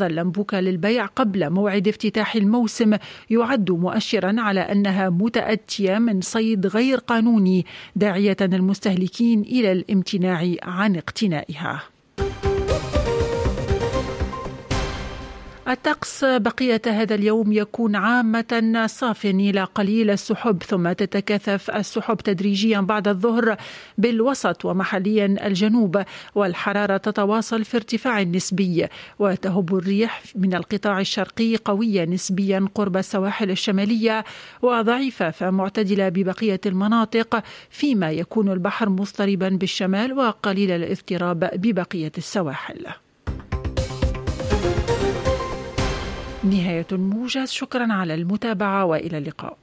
اللمبوكة للبيع قبل موعد افتتاح الموسم يعد مؤشرا على أنها متأتية من صيد غير قانوني، داعية المستهلكين إلى الامتناع عن اقتنائها. الطقس بقية هذا اليوم يكون عامة صاف إلى قليل السحب، ثم تتكاثف السحب تدريجيا بعد الظهر بالوسط ومحليا الجنوب، والحرارة تتواصل في ارتفاع نسبي، وتهب الريح من القطاع الشرقي قوية نسبيا قرب السواحل الشمالية وضعيفة فمعتدلة ببقية المناطق، فيما يكون البحر مضطربا بالشمال وقليل الاضطراب ببقية السواحل. نهاية الموجز، شكرا على المتابعة وإلى اللقاء.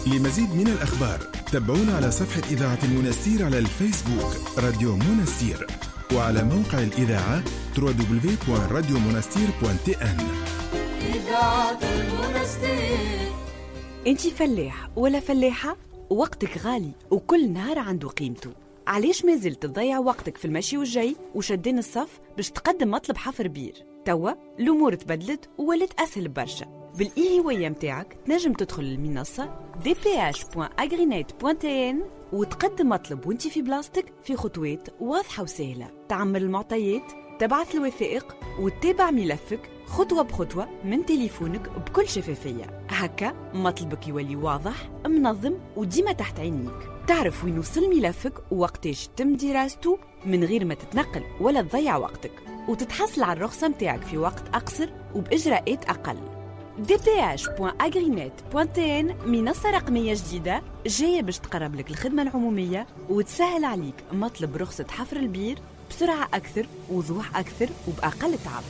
لمزيد من الأخبار تابعونا على صفحة إذاعة المنستير على الفيسبوك راديو منستير، وعلى موقع الإذاعة www.radiomonastir.tn. إذاعة المنستير. أنت فلاح ولا فلاحة؟ وقتك غالي وكل نهار عنده قيمته. علاش ما زلت تضيع وقتك في المشي والجاي وشدين الصف باش تقدم مطلب حفر بير؟ توا الأمور تبدلت وولت أسهل برشا. بالإي متاعك تنجم تدخل للمنصة dph.agrinet.tn وتقدم مطلب وانت في بلاصتك في خطوات واضحة وسهلة. تعمل المعطيات، تبعث الوثائق وتتابع ملفك خطوة بخطوة من تليفونك بكل شفافية. هكا مطلبك يولي واضح، منظم وديما تحت عينيك. تعرف وين وصل ملفك ووقتاش تم دراسته من غير ما تتنقل ولا تضيع وقتك، وتتحصل على الرخصة متاعك في وقت أقصر وبإجراءات أقل. dph.agrinet.tn منصة رقمية جديدة جاية باش تقرب لك الخدمة العمومية وتسهل عليك مطلب رخصة حفر البير بسرعة أكثر، وضوح أكثر، وبأقل تعب.